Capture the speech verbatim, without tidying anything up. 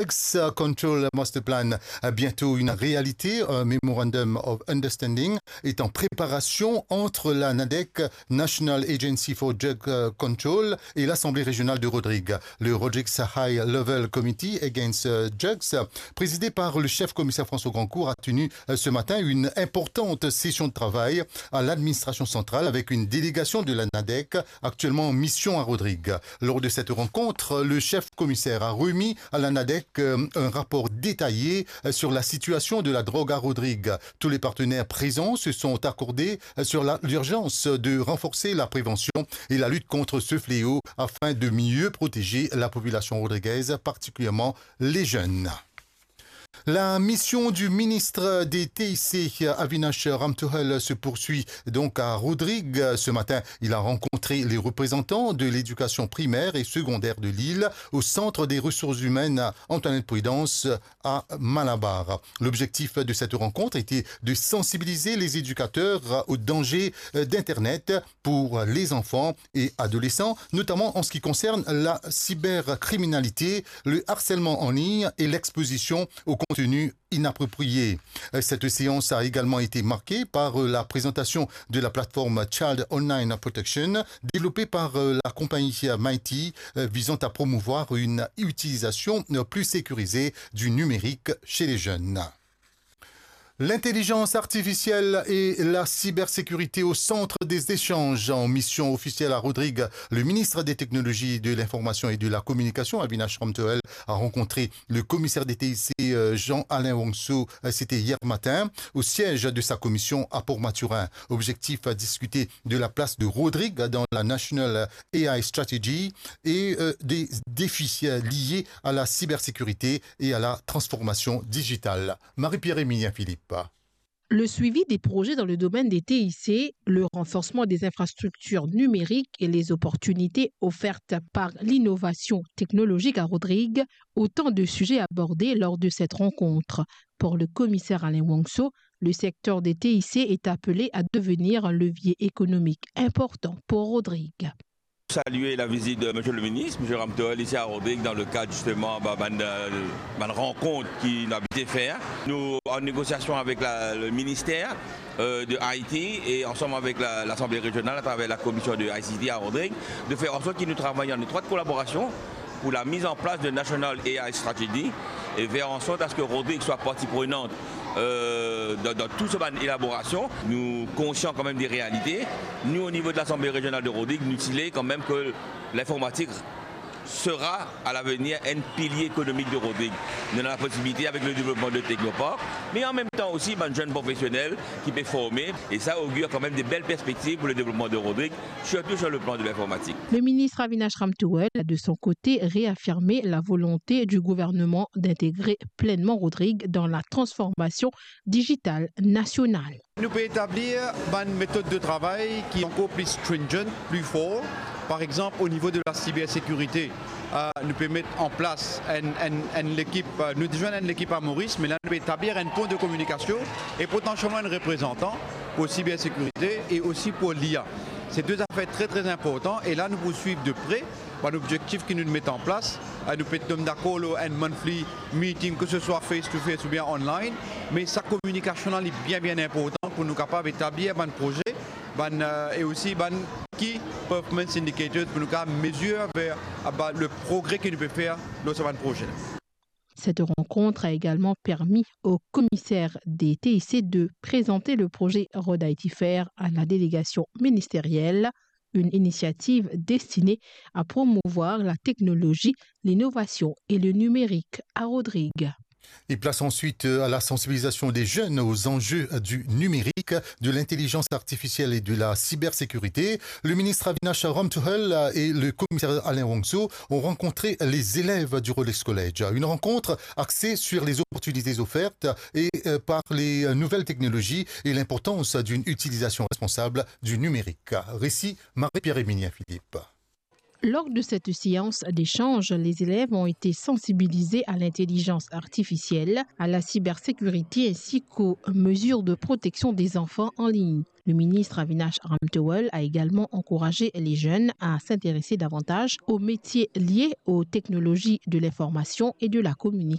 Drugs Control Master Plan, euh, bientôt une réalité. Un Memorandum of Understanding est en préparation entre la NADEC, National Agency for Drug, euh, Control, et l'Assemblée régionale de Rodrigues. Le Rodrigues High Level Committee Against, euh, Drugs, présidé par le chef commissaire François Grandcourt, a tenu, euh, ce matin une importante session de travail à l'administration centrale avec une délégation de la NADEC actuellement en mission à Rodrigues. Lors de cette rencontre, le chef commissaire a remis à la NADEC, euh, un rapport détaillé, euh, sur la situation de la drogue à Rodrigues. Tous les partenaires présents se sont accordés, euh, sur la, l'urgence de renforcer la prévention et la lutte contre ce fléau afin de mieux protéger la population rodriguaise, particulièrement les jeunes. La mission du ministre des T I C, Avinash Ramthoul, se poursuit donc à Rodrigues. Ce matin, il a rencontré les représentants de l'éducation primaire et secondaire de l'île au centre des ressources humaines Antoinette Prudence à Malabar. L'objectif de cette rencontre était de sensibiliser les éducateurs au danger, euh, d'Internet pour les enfants et adolescents, notamment en ce qui concerne la cybercriminalité, le harcèlement en ligne et l'exposition au contenu inapproprié. Cette séance a également été marquée par la présentation de la plateforme Child Online Protection, développée par la compagnie Mighty, visant à promouvoir une utilisation plus sécurisée du numérique chez les jeunes. L'intelligence artificielle et la cybersécurité au centre des échanges. En mission officielle à Rodrigues, le ministre des Technologies de l'Information et de la Communication, Avinash Ramthoul, a rencontré le commissaire des T I C, euh, Jean-Alain Wangso, euh, c'était hier matin. Au siège de sa commission à Port-Mathurin, objectif à discuter de la place de Rodrigues dans la National A I Strategy et, euh, des défis, euh, liés à la cybersécurité et à la transformation digitale. Marie-Pierre Émilien Philippe. Le suivi des projets dans le domaine des T I C, le renforcement des infrastructures numériques et les opportunités offertes par l'innovation technologique à Rodrigues, autant de sujets abordés lors de cette rencontre. Pour le commissaire Alain Wangso, le secteur des T I C est appelé à devenir un levier économique important pour Rodrigues. Saluer la visite de Monsieur le ministre, Monsieur Ramthoul, ici à Rodrigues, dans le cadre justement, bah, bann, euh, bann rankont ki nou abitye fer. Nou an negosiasion avek la, le ministère, euh, de I T et ensemble avec la, l'Assemblée régionale à travers la commission de I C T à Rodrigues, de faire en sorte que nous travaillons en étroite collaboration pour la mise en place de National A I Strategy et faire en sorte à ce que Rodrigues soit partie prenante, euh, dans, dans tout ce bann élaboration. Nou konsian kanmem de realite. Nou, o nivo de l'Assemblée régionale de Rodrigues, nou ti le kanmem ke l'informatique sera à l'avenir un pilier économique de Rodrigues. Nou ena la posibilite avek le devlopman de technopark, me an mem tan osi bann zenn profesionel ki pe forme, e sa augure kanmem de bel perspektiv pou le devlopman de Rodrigues, sirtou sur le plan de l'informatique. Le ministre Avinash Ramthoul a de son côté réaffirmé la volonté du gouvernement d'intégrer pleinement Rodrigues dans la transformation digitale nationale. Nou pe etablir bann metod de travay ki ankor pli stringent, pli for. Par exanp, o nivo de la sibersekirite, euh, nou pe met an plas enn, enn, enn lekip, euh, nou deza ena enn lekip a Moris, me la nou pe etablir enn pon de kominikasion e potansielman enn reprezantan pou sibersekirite e osi pou l'I A. Se de zafer tre, tre inportan e la nou pou swiv de pre bann objektif ki nou met an plas. Eh, nou pe tom dakor lor enn monthly meeting, ke se swa face to face oubien online, me sa kominikasion la, li bien, bien inportan pou nou kapav etablir bann proze, bann, eh, e osi bann key performance indicators pou nou kapav mezir ver, ah, ba, le progre ki nou pe fer lor sa bann proze la. Cette rencontre a également permis au commissaire des T I C de présenter le projet Rod I T Fair à la délégation ministérielle, une initiative destinée à promouvoir la technologie, l'innovation et le numérique à Rodrigues. Et place ensuite, euh, à la sensibilisation des jeunes aux enjeux, euh, du numérique, de l'intelligence artificielle et de la cybersécurité. Le ministre Avinash Ramthoul, euh, et le commissaire Alain Wangso ont rencontré les élèves du Rolex College. Une rencontre axée sur les opportunités offertes et, euh, par les nouvelles technologies et l'importance d'une utilisation responsable du numérique. Récit, Marie-Pierre Émilien Philippe. Lors de cette séance d'échange, les élèves ont été sensibilisés à l'intelligence artificielle, à la cybersécurité ainsi qu'aux mesures de protection des enfants en ligne. Le ministre Avinash Ramtowel a également encouragé les jeunes à s'intéresser davantage aux métiers liés aux technologies de l'information et de la communication.